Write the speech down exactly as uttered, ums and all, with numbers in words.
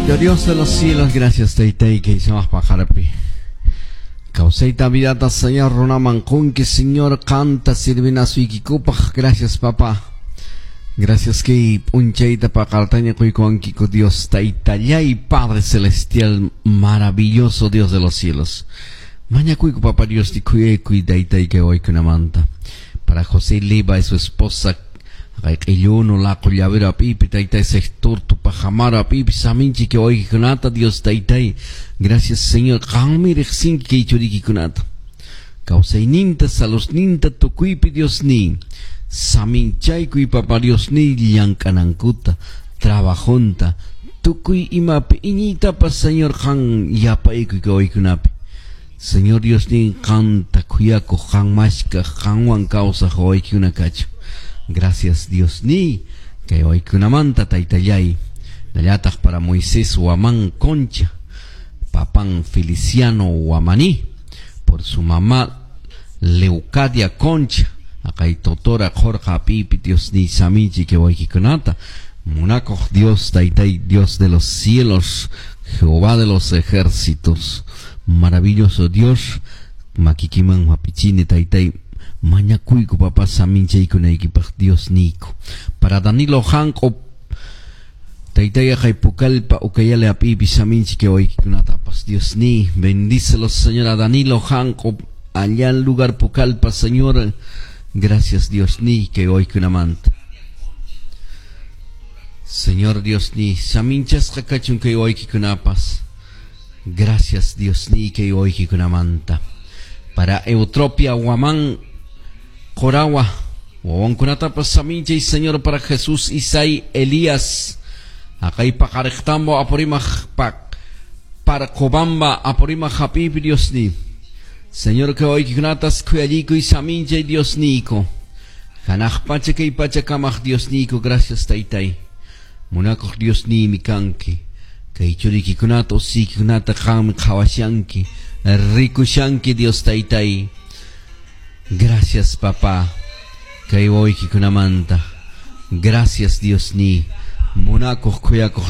Papito Dios de los cielos, gracias taytay kay sumaq paqaripi. Kawsayta vidata Señor runaman qunki Señor qanta sirvinasuykikupaq. Gracias, papá. Gracias kay p'unchayta paqartaña quykuwankiku Dios taytallay Padre Celestial, maravilloso Dios de los cielos. Mañakuyku papá Dios khuyaykuy taytay kay waykunamanta. Para José Leiva y su esposa q'illuno laqo llavero apipi taytay sector tupajamaro apipi saminchi kay waykunata Dios taytay. Gracias, Señor, qanmi riqsinki kay churikikunata. Kawsayninta saludninta tukuypi Dios ni. Saminchaykuy papá Dios ni llank'anankuta trabajonta tukuy imapi iñiytapas Señor qan yapaykuy kay waykunapi. Señor Dios ni qanta khuyakuq qan mashkaq qanwan kawsaq waykuna kachun. Gracias, Dios ni kay waykunamanta taytallay. Nallataq para Moisés Huamán Concha, papan Feliciano Huamaní, por su mamá Leucadia Concha, aqay totora Jorge pipi Dios ni saminchi kay waykikunata. Munakuq Dios taytay Dios de los cielos, Jehová de los ejércitos, maravilloso Dios, makikiman hapichini taytay mañakuyku papá saminchaykunaykipaq Dios niyku. Para Danilo Hanko taytay aqay pukalpa ukayale apipi saminchi kay waykikunatapas Dios ni bendícelos Señor a Danilo Hanko allá en lugar Pucallpa, Señor. Gracias, Dios ni kay waykunamanta. Señor Dios ni saminchasqa kachun kay waykikunapas. Gracias, Dios ni kay waykikunamanta. Para Eutropia Huamán Corawa, wawankunatapas saminchay Señor para Jesús Isai Elías. Aqay paqariqtambo Apurímac pak para Cobamba Apurímac hapipi Dios ni. Señor kay waykikunatas khuyallikuy saminchay Dios niyku. Hanaq pacha kay pacha kamaq Dios niyku, gracias taytay. Munakuq Dios niymi kanki. Kay churikikunata usikikunata qanmi qhawashanki. Rikushanki Dios taytay. Gracias, papá. Kay waykikunamanta. Gracias, Dios ni. Munakuq khuyakuq